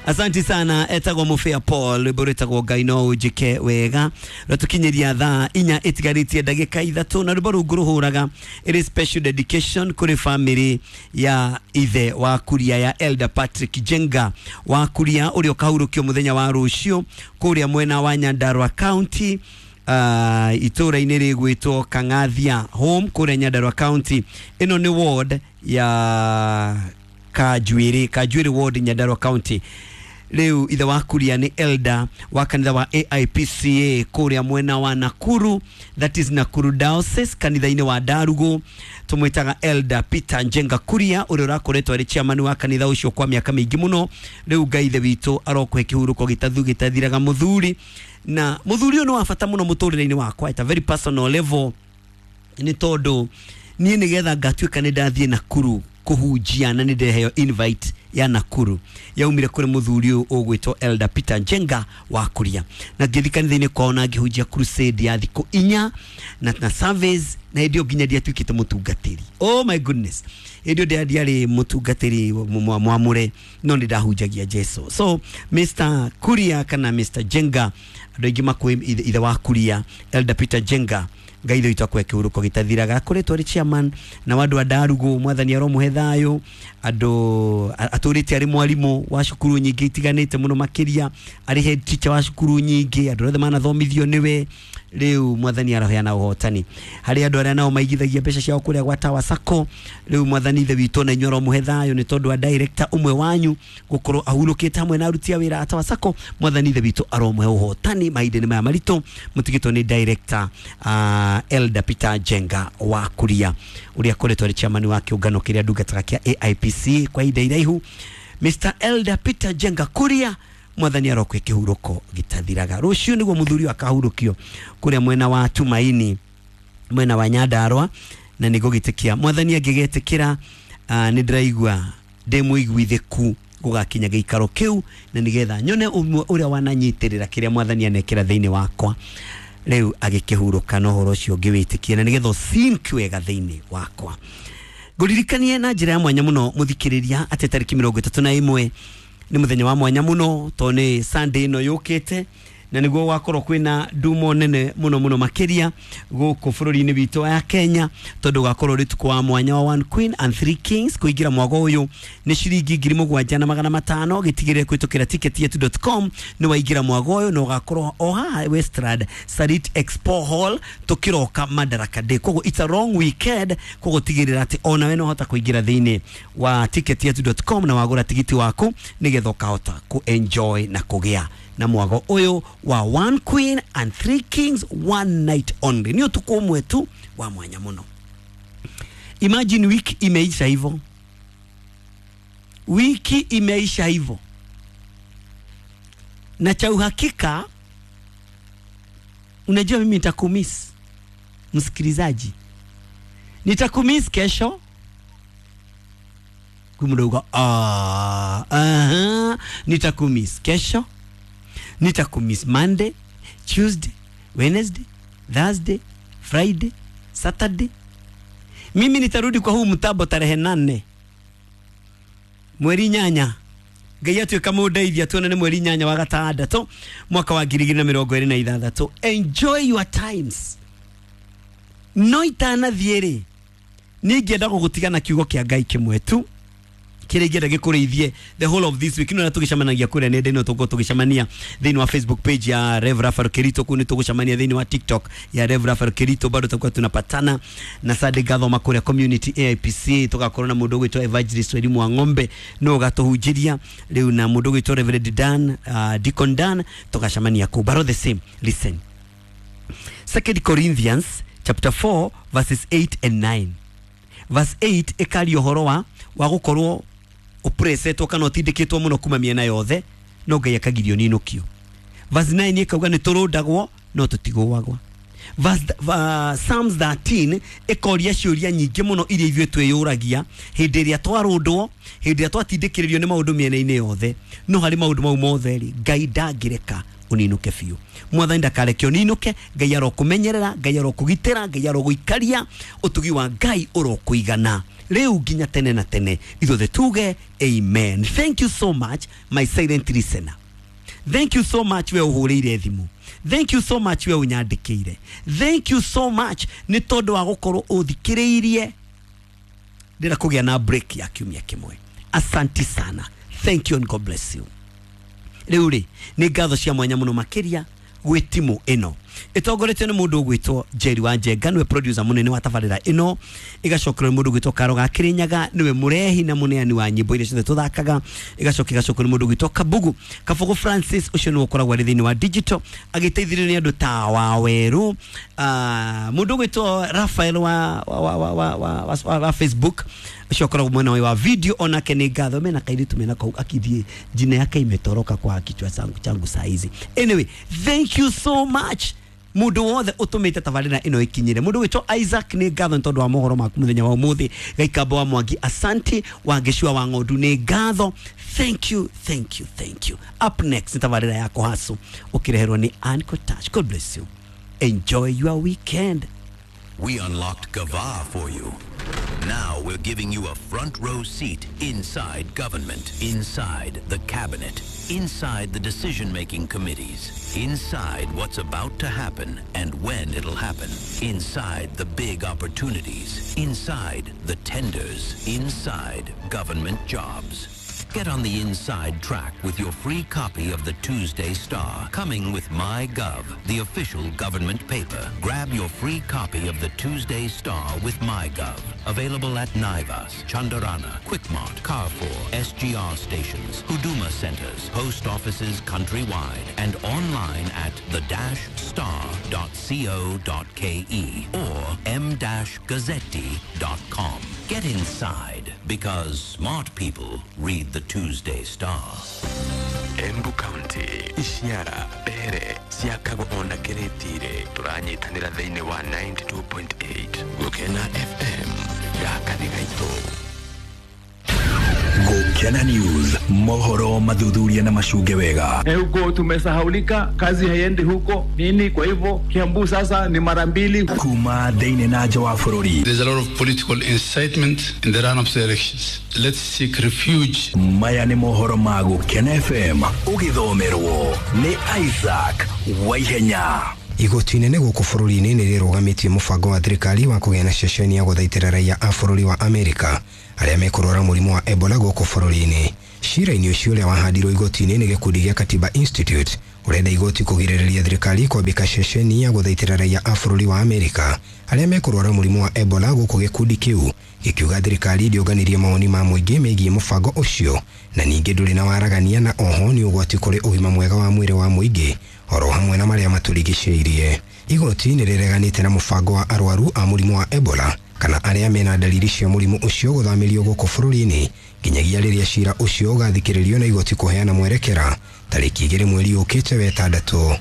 Asante sana. Etagwo Mufia Paul, rwimbo rwĩtagwo Ngai no ũnjĩke wega. Rwatũkinyĩria thaa 4 ĩtigarĩtie ndagĩka 3, na rwimbo rũu ngũrũhũraga ĩrĩ special dedication kũrĩ family ya ithe wa Kuria, ya Elder Patrick Jenga wa Kuria, ũrĩa ũkahurũkio mũthenya wa rũciũ kũrĩa mwena wa Nyandarua County, itũũra-inĩ rĩgwĩtwo Kang'athia Home kũrĩa Nyandarua County. Ĩno nĩ ward ya Kanjuĩrĩ, Kanjuĩrĩ ward, Nyandarua County. Rĩu ithe wa Kuria nĩ elder wa kanitha wa AIPCA kũrĩa mwena wa Nakuru, that is Nakuru Diocese, kanitha-inĩ wa Ndarugu. Tũmwĩtaga Elder Peter Njenga Kuria, ũrĩa ũrakoretwo arĩ chairman wa kanitha ũcio kwa mĩaka mĩingĩ mũno. Rĩu Ngai ithe witũ arokũhe kĩhurũko gĩtathu gĩtathiraga mũthuri. Na mũthuri ũyũ nĩ wa bata mũno mũtũrĩre-inĩ wakwa at a very personal level, nĩ tondũ niĩ nĩgetha ngatuĩka nĩ ndathiĩ Nakuru kũhunjia na nĩ ndeheo invite ya Nakuru, yaumire kũrĩ mũthuri ũyũ ũgwĩtwo Elder Peter Njenga wa Kuria, na ngĩthiĩ kanitha-inĩ kwao na ngĩhunjia crusade ya thikũ 4 na service, na hĩndĩ ĩyo nginya ndiatuĩkĩte mũtungatĩri. Oh my goodness, hĩndĩ ĩyo ndiarĩ mũtungatĩri mwamũre, no nĩ ndahunjagia Jesu. So Mr Kuria kana Mr Jenga, andũ aingĩ makũĩ ithe wa Kuria, Elder Peter Jenga, Ngai ithe witũ akũhe kĩhurũko gĩtathiraga. Akoretwo arĩ chairman na wa andũ a Ndarugu, mwathani aromũhe thayũ. Andũ atũrĩte arĩ mwarimũ wa cukuru nyingĩ itiganĩte mũno, makĩria arĩ head teacher wa cukuru nyingĩ, andũ othe manathomithio nĩwe. Rĩu mwathani aroheana ũhotani harĩ andũ arĩa nao maigithagia mbeca ciao kũrĩa gwa Tower Sacco. Rĩu mwathani ithe witũ na inyuĩ aromũhe thayũ, nĩ tondũ wa director ũmwe wanyu gũkorwo ahurũkĩte hamwe na aruti a wĩra a Tower Sacco. Mwathani ithe witũ aromũhe ũhotani mahinda-inĩ maya maritũ mũtigĩtwo nĩ director Elder Peter Njenga wa Kuria, ũrĩa akoretwo arĩ chairman wa kĩũngano kĩrĩa ndungataga kĩa AIPC kwa ihinda iraihu. Mr Elder Peter Njenga Kuria, mwathani arokwe kĩhurũko gĩtathiraga. Rũciũ nĩguo mũthuri akahurũkio kũrĩa mwena wa Tumaini, mwena wa Nyandarua, na nĩ ngũgĩtĩkia mwathani angĩgetĩkĩra, nĩ ndĩraigua ndĩ mũiguithĩku gũgakinya gĩikaro kĩu, na nĩgetha nyone ũmwe ũrĩa wananyitĩrĩra kĩrĩa mwathani anekĩra thĩinĩ wakwa rĩu agĩkĩhurũka, na ũhoro ũcio ngĩwĩtĩkia, na nĩgetha ũsink wega thĩinĩ wakwa. Ngũririkanie na njĩra ya mwanya mũno mũthikĩrĩria atĩ tarĩki 31 nĩ mũthenya wa mwanya mũno, tondũ nĩ Sunday ĩno yũkĩte, na nĩguo gwakorwo kwĩna ndumo nene mũno mũno makĩria gũkũ bũrũri-inĩ witũ wa Kenya, tondũ gwakorwo ũrĩ ũtukũ wa mwanya wa One Queen and Three Kings. Kũingĩra mwago ũyũ nĩ ciringi 7,500. Gĩtigĩrĩre kũhĩtũkĩra ticketyetu.com nĩ waingĩra mwago ũyũ, na ũgakorwo o haha Westland Sarit Expo Hall tũkĩroka Madaraka Day. Koguo it's a long weekend, koguo tigĩrĩra atĩ onawe no hota kũingĩra thĩinĩ wa ticketyetu.com na wagũra tigiti waku, nĩgetha ũkahota ku enjoy na kũgĩa na mwago ũyũ wa One Queen and Three Kings, one night only. Nĩ ũtukũ ũmwe tu wa mwanya mũno. Imagine wiki imeisha hivyo, wiki imeisha hivyo, na cha uhakika, unajua mimi nitakumiss msikilizaji, nitakumiss kesho kumdogo. Nitakumiss kesho, nitakumiss Monday, Tuesday, Wednesday, Thursday, Friday, Saturday. Mimi nitarudi kwa huu mtabo tarehe 8 mweri 8. Ngai atuĩka mũndeithia tuonane mweri 8 wa gatandatũ mwaka wa 2026. Enjoy your times. No itanathiĩ rĩ, niĩ ingĩenda gũgũtiga na kiugo kĩa Ngai kĩmwe tu kĩrĩa ingĩenda gĩkũrĩithie the whole of this week. No tũgĩcemanagia kũrĩa nenda-inĩ, tũgũkorwo tũgĩcemania thĩinĩ wa Facebook page ya Rev Raphael Kirito, kũu nĩ tũgũcemania thĩinĩ wa TikTok ya Rev Raphael Kirito, bado tutakuwa tunapatana na Sunday ngathoma kũrĩa community AIPC, tũgakorwo na mũndũ ũgwĩtwo Evangelist Elimu wa Ng'ombe no ũgatũhunjĩria rĩu, na mũndũ ũgwĩtwo Reverend Dan, Deacon Dan, tũgacemania kũu. But all the same, listen, 2 Corinthians chapter 4 verses 8 and 9. Verse 8 ĩkaria ũhoro wa gũkorwo ũpresetwo kana ũtindĩkĩtwo mũno kuma mĩena yothe, no Ngai akagirio ninũkio. Verse 9 ĩkauga nĩ tũrũndagwo no tũtigũagwo. Psalms 13 ĩkoria ciũria nyingĩ mũno iria ithuĩ twĩyũragia hĩndĩ ĩrĩa twarũndwo, hĩndĩ ĩrĩa twatindĩkĩrĩrio nĩ maũndũ mĩena-inĩ yothe. No harĩ maũndũ mau mothe rĩ, Ngai ndangĩreka ũninũke biũ. Mwathani ndakareke ũninũke. Ngai arokũmenyerera, Ngai arokũgitĩra, Ngai arogũikaria, ũtugi wa Ngai ũrokũigana. Rĩu nginya tene na tene. Ithuothe tuge amen. Thank you so much, my silent listener. Thank you so much we ũhũrĩire thimũ. Thank you so much we ũnyandĩkĩire. Thank you so much nĩ tondũ wa gũkorwo ũthikĩrĩirie. Ndĩra kũgĩa na break ya kiumia kĩmwe. Asanti sana. Thank you and God bless you. Rĩu rĩ, nĩ ngatho cia mwanya mũno makĩria gwĩ timu ĩno ĩtongoretio nĩ mũndũ ũgwĩtwo Jerry wa Njenga, nĩwe producer mũnene wa tabarĩra ĩno. Ĩgacokerwo nĩ mũndũ ũgwĩtwo Karo ga Kĩrĩnyaga, nĩwe mũrehi na mũneani wa nyĩmbo iria ciothe tũthakaga. Ĩgacoka ĩgacokerwo nĩ mũndũ ũgwĩtwo Kabugu Kabugu Francis, ũcio nĩwe ũkoragwo arĩ thĩinĩ wa digital agĩteithĩrĩrio nĩ andũ ta Wawerũ, mũndũ ũgwĩtwo Raphael wa Facebook, ũcio ũkoragwo mwena wa video, onake nĩ ngatho. Mena kairĩtu mena kau akithiĩ jina yake imetoroka kwa kichwa changu saa hizi. Anyway, thank you so much mundu wothe utumite tabarira ino ikinyire. Mundu witwo Isaac ni ngatho tondu wa mohoro maku muthenya wa umuthi. Gaikamba wa Mwangi, asanti. Wa Ngicua wa Ng'ondu ni ngatho. Thank you, thank you, thank you. Up next ni tabarira ya Kohasu ukireherwo ni Anko Touch. God bless you, enjoy your weekend. We unlocked Gava for you. Now we're giving you a front row seat inside government, inside the cabinet, inside the decision-making committees, inside what's about to happen and when it'll happen, inside the big opportunities, inside the tenders, inside government jobs. Get on the inside track with your free copy of the Tuesday Star, coming with MyGov, the official government paper. Grab your free copy of the Tuesday Star with MyGov. Available at Naivas, Chandarana, Quickmart, Carrefour, SGR stations, Huduma centers, post offices countrywide, and online at the-star.co.ke or m-gazzetti.com. Get inside, because smart people read the Tuesday Star. Embu County, Ishiara, Mbere, ciakagwo ona Kĩrĩtire. Tũranyitanĩra thĩinĩ wa 92.8 Gũkena FM. Gaka nĩ gaitũ. Gũkena News, mohoro mathuthuria na macunge wega. Huko tumesahaulika, kazi haiendi huko nini, kwa hivyo Kiambu sasa ni mara mbili. Kuma thĩinĩ na nja wa bũrũri. There's a lot of political incitement in the run-up to the elections. Let's seek refuge. Maya nĩ mohoro ma Gũkena FM ũgĩthomerwo nĩ Isaac Waihenya. Igoti inene gũkũ bũrũri-inĩ nĩ rĩrũgamĩtie mũbango wa thirikari wa kũgĩa na ceceni ya gũthaitĩra raia a bũrũri wa Amerika arĩa mekũrwara mũrimũ wa Ebola gũkũ bũrũri-inĩ. Cira-inĩ ũcio ũrĩa wahandirwo igoti-inĩ nĩ gĩkundi gĩa Katiba Institute ũrenda igoti kũgirĩrĩria thirikari kwambĩka ceceni ya gũthaitĩra raia a bũrũri wa Amerika arĩa mekũrwara mũrimũ wa Ebola gũkũ gĩkundi kĩu gĩkiuga thirikari ndĩũnganirie mawoni ma mũingĩ megiĩ mũbango ũcio na ningĩ ndũrĩ na waragania na oho nĩ ũgwati kũrĩ ũgima mwega wa mwĩrĩ wa mũingĩ oro hamwe na marĩa matũrigicĩirie. Igoti nĩ rĩreganĩte na mũbango wa arwaru a mũrimũ wa Ebola kana arĩa mena dalili cia mũrimũ ũcio gũthamĩrio gũkũ bũrũri-inĩ nginyagia rĩrĩa cira ũcio ũgathikĩrĩrio na igoti kũheana mwerekera tarĩki 2 mweri ũkĩte wetandatũ.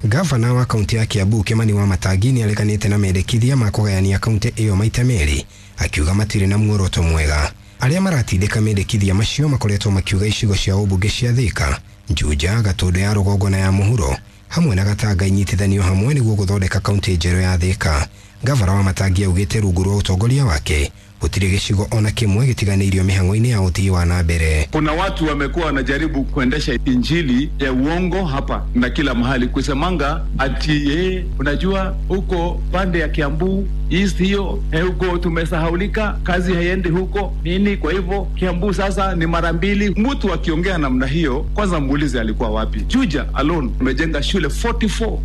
Gavana wa kaunti ya Kiambu Kimani wa Matangi nĩ areganĩte na mendekithia ma kũgayania kaunti ĩyo maita merĩ akiuga matirĩ na muoroto mwega. Arĩa maratindĩka mendekithia macio makoretwo makiuga icigo cia ũmbunge cia Thika, Juja, Gatũndũ ya rũgongo na ya mũhuro hamwe na Gatanga inyitithanio hamwe nĩguo gũthondeka kaunti njerũ ya Thika. Gavana wa Matangi augĩte rungu rwa ũtongoria wake gũtirĩ gĩcigo ona kĩmwe gĩtiganĩirio mĩhang'o-inĩ ya ũthii wa na mbere. Kuna watu wamekuwa wanajaribu kuendesha injili ya uongo hapa na kila mahali kusemanga ati unajua huko pande ya Kiambu East hiyo huko tumesahaulika, kazi haiendi huko nini, kwa hivyo Kiambu sasa ni mara mbili. Mtu akiongea namna hiyo, kwanza muulize alikuwa wapi. Juja alone umejenga shule 44.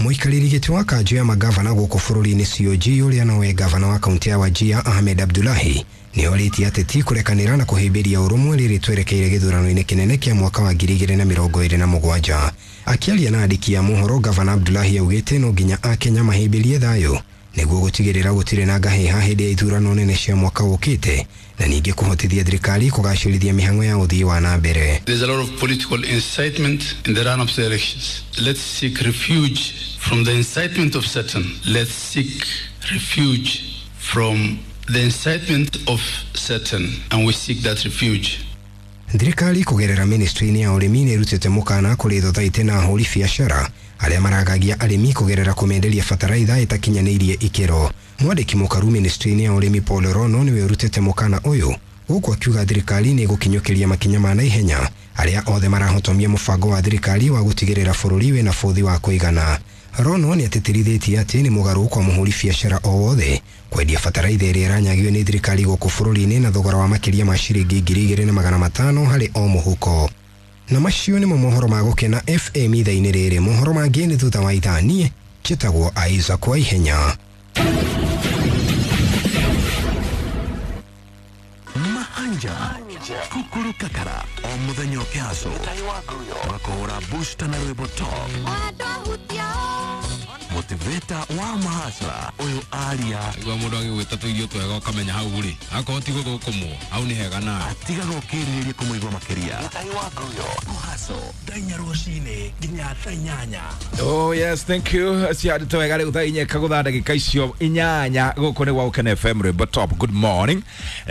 Mũikarĩri gĩtĩ wa kanjũ ya magavana gũkũ bũrũri-inĩ COG ũrĩa nowe gavana wa kaunti ya Wajir Ahmed Abdullahi nĩ orĩtie ateti kũrekanĩra na kũhĩmbĩria ũrũmwe rĩrĩ twerekeire gĩthurano-inĩ kĩnene kĩa mwaka wa 2027. Akĩaria na andĩki a mohoro, gavana Abdullahi augĩte no nginya akenya mahĩmbĩrie thayũ nĩguo gũtigĩrĩra gũtirĩ na ngahĩha hĩndĩ ya ithurano nene cia mwaka ũkĩte na ningĩ kũhotithia thirikari kũgacĩrithia mĩhang'o ya ũthii wa na mbere. There's a lot of political incitement in the run-up to the elections. Let's seek refuge from the incitement of Satan. Let's seek refuge from the incitement of Satan, and we seek that refuge. Thirikari kũgerera ministry-inĩ ya ũrĩmi nĩ ĩrutĩte mũkana kũrĩ thothaitĩ na ahũri biacara arĩa maragagia arĩmi kũgerera kũmenderia bataraitha ĩtakinyanĩirie ikĩro. Mwandĩki mũkaru ministry-inĩ ya ũrĩmi Paul Rono nĩwe ũrutĩte mũkana ũyũ, gũkũ akiuga thirikari nĩ ĩgũkinyũkĩria makinya ma naihenya arĩa othe marahotomia mũbango wa thirikari wa gũtigĩrĩra bũrũri wĩna bũthi wa kũigana. Rono nĩ atĩtĩrithĩtie atĩ nĩ mũgarũ kwa mũhũri biacara o wothe kwendia bataraitha ĩrĩa ĩranyagio nĩ thirikari gũkũ bũrũri-inĩ na thogora wa makĩria ma ciringi 2500 harĩ o mũhuko. Na macio nĩmo mohoro ma Gũkena FM ithaa-inĩ rĩrĩ. Mohoro mangĩ nĩ thutha wa ithaa. Niĩ njĩtagwo Isaac Waihenya. Mahanja kukuru kakara o muthenya ũkĩhacwo ũgakũhũra booster na rwĩmbo top motivator wa mahacra ũyũ aria Igua mũndũ agĩgwĩta tũirio twega ũkamenya hau rĩ akorwo ti gũthũkũmwo hau nĩ hega nawe atigaga ũkĩrirĩria kũmũigua makĩria kũhaco thaa inya rũcinĩ nginya thaa inyanya. Oh yes, thank you. Ciandĩtwo wega rĩu thaa inya kagũtha ndagĩka icio inyanya gũkũ nĩ gwa Gũkena FM rwĩmbo top. Good morning.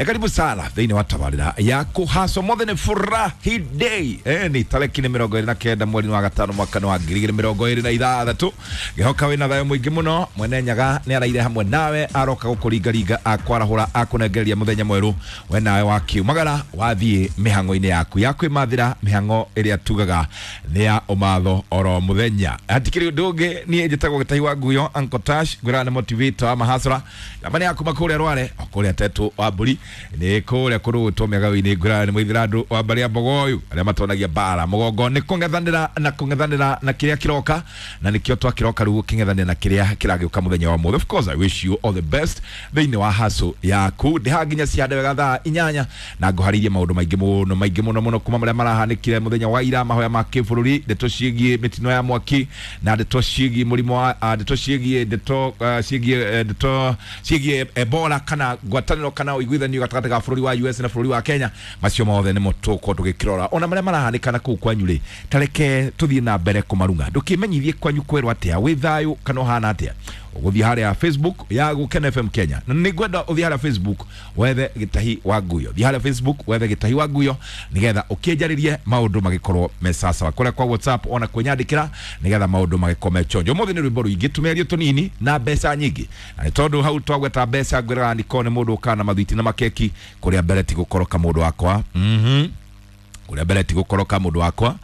Karibu sana thĩinĩ wa tabarĩra ya kũhaco. Mothe nĩ furahi day. Ni tarĩki nĩ 29 mweri wa gatano mwaka wa 2026. Ngĩhoka wĩna thayũ mũingĩ mũno. Mwene Nyaga nĩ araire hamwe nawe aroka gũkũringaringa akwarahũra akũnengereria mũthenya mwerũ we nawe wakiumagara wathiĩ mĩhang'o-inĩ yaku ya kwĩmathĩra mĩhang'o ĩrĩa tugaga nĩ ya ũmatho oro mũthenya. Hatikĩrĩ ũndũ ũngĩ, niĩ njĩtagwo Gĩtahi wa Nguyo Uncle Tash, ngwĩraga nĩ motivator wa mahasra namba nĩ ya kuma kũrĩa Rware o kũrĩa Tetũ wa Mbũri nĩ kũrĩa kũrũgũtwo mĩagaũ-inĩ. Ngwĩraga nĩ mũithĩra wa mbarĩ ya Mbogoyu arĩa matonagia mbara mũgongo nĩ kũng'ethanĩra na kũng'ethanĩra na kĩrĩa kĩroka na nĩkĩo twakĩroka rĩu gũkĩng'ethanĩra na kĩrĩa kĩragĩũka mũthenya wa ũmũthĩ. Of course I wish you all the best thĩinĩ wa hustle yaku. Ndĩhaha nginya cihande wega thaa inyanya na ngũharĩirie maũndũ maingĩ mũno maingĩ mũno mũno kuma marĩa marahanĩkire mũthenya wa ira, mahoya ma kĩbũrũri, ndeto ciĩgiĩ mĩtino ya mwaki na ndeto ciĩgiĩ mũrimũ wa ndeto ciĩgiĩ ndeto ciĩgiĩ ndeto ciĩgiĩ Ebola kana ngwatanĩro kana ũiguithanio gatagatĩ ga bũrũri wa US na bũrũri wa Kenya. Macio mothe nĩmo tũgũkorwo tũgĩkĩrora ona marĩa marahanĩka na kũu kwanyu rĩ, tareke tũthiĩ na mbere kũmarung'a. Ndũkĩmenyithie kwanyu kwerwo atĩa, wĩ thayũ kana ũhana atĩa. Ũgũthiĩ harĩa Facebook ya Gũkena FM Kenya na nĩngwenda ũthiĩ harĩa Facebook wethe Gĩtahi wa Nguyo. Thiĩ harĩa Facebook wethe Gĩtahi wa Nguyo nĩgetha ũkĩnjarĩrie maũndũ magĩkorwo me sawa. Kũrĩa kwa WhatsApp ona kwĩnyandĩkĩra nĩgetha maũndũ magĩkorwo me chonjo. Ũmũthĩ nĩ rwĩmbo rũingĩ tũmĩario tũnini na mbeca nyingĩ, na nĩ tondũ hau twagweta mbeca ngwĩraga nĩkorwo nĩ mũndũ ũkaga na mathwiti na makeki kũrĩa mbere ti gũkoroka mũndũ wakwa. Kũrĩa mbere ti gũkoroka mũndũ wakwa.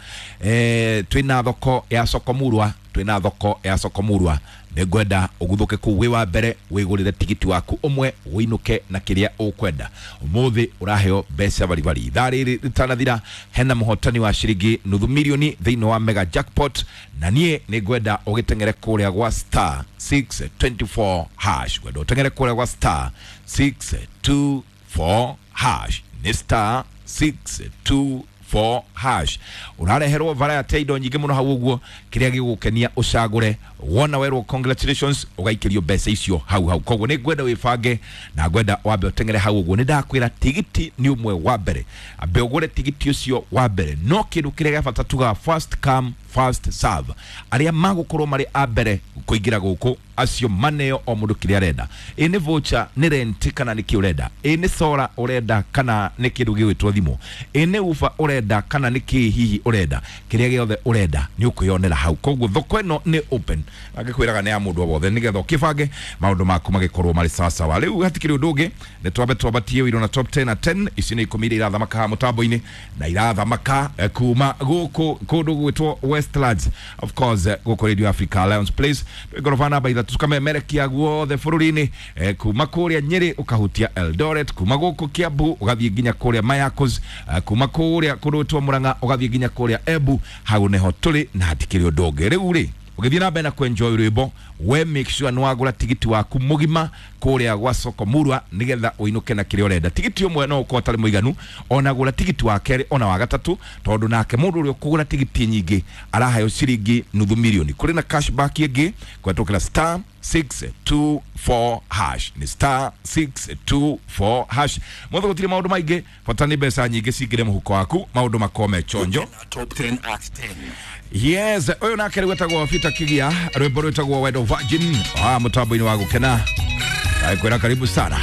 Twĩna thoko ya Sokomurwa, twĩna thoko ya Sokomurwa. Nĩngwenda ũguthũke kũu wĩ wa mbere wĩgũrĩre tigiti waku ũmwe ũinũke na kĩrĩa ũkwenda. Ũmũthĩ ũraheo mbeca baribari. Ithaa rĩrĩ rĩtanathira hena mũhotani wa ciringi nuthu milioni thĩinĩ wa mega jackpot, na niĩ nĩngwenda ũgĩteng'ere kũrĩa gwa star 624 hash. Ngwenda ũteng'ere kũrĩa gwa star 624 hash. Nĩ star 624 hash. Ũrareherwo variety indo nyingĩ mũno hau ũguo, kĩrĩa gĩgũkenia ũcagũre. Wona werwo congratulations ũgaikĩrio mbeca icio hau hau. Koguo nĩ ngwenda wĩbange na ngwenda wambe ũteng'ere hau ũguo. Nĩ ndakwĩra tigiti nĩ ũmwe wa mbere, ambe ũgũre tigiti ũcio wa mbere. No kĩndũ kĩrĩa gĩa bata tugaga first come first serve, arĩa magũkorwo marĩ a mbere kũingĩra gũkũ acio maneo o mũndũ kĩrĩa arenda. Ĩ nĩ voucher, nĩ rent kana nĩ kĩ ũrenda, ĩ nĩ solar ũrenda kana nĩ kĩndũ gĩgwĩtwo thimũ, ĩ nĩ ufa ũrenda kana nĩ kĩ hihi ũrenda, kĩrĩa gĩothe ũrenda nĩ ũkwĩyonera hau. Koguo thoko ĩno nĩ open, angĩkwĩraga nĩ ya mũndũ o wothe nĩgetha ũkĩbange maũndũ maku magĩkorwo marĩ sawasawa. Rĩu hatikĩrĩ ũndũ ũngĩ, nĩ twambe twambatie wĩiro na top 10 na 10. Ici nĩ ikũmi iria irathamaka haha mũtambo-inĩ na irathamaka kuma gũkũ kũndũ gwĩtwo Westlands, of course gũkũ Radio Africa Alliance Place. Twĩ ngoroba namba ithatũ tukamemerekia guothe bũrũri-inĩ, kuma kũrĩa Nyĩrĩ ũkahutia Eldoret, kuma gũkũ Kiambu ũgathiĩ nginya kũrĩa Mayakos, kuma kũrĩa kũndũ gwĩtwo Murang'a ũgathiĩ nginya kũrĩa Embu. Hau nĩho tũrĩ na hatikĩrĩ ũndũ ũngĩ. Rĩu rĩ ũgĩthiĩ na mbere na kwenjoy rwĩmbo, we make sure nĩ wagũra tigiti waku mũgima kũrĩa gwa Sokomurwa nĩgetha ũinũke na kĩrĩa ũrenda. Tigiti ũmwe no ũkorwo ũtarĩ mũiganu, ona gũra tigiti wa kerĩ ona wa gatatũ, tondũ nake mũndũ ũrĩa ũkũgũra tigiti nyingĩ araheo ciringi nuthu milioni. Kũrĩ na cashback ĩngĩ kũhetũkĩra star 624 hash. Ni star 624 hash. Mothe gũtirĩ maũndũ maingĩ, bata nĩ mbeca nyingĩ cingĩre mũhuko waku, maũndũ makorwo me chonjo. Top 10 at 10. Yes, ũyũ nake rĩu etagwo Peter Kigia, rwĩmbo rwĩtagwo Wendo Virgin, wa mũtambo-inĩ wa Gũkena. Kwĩra karibu sana.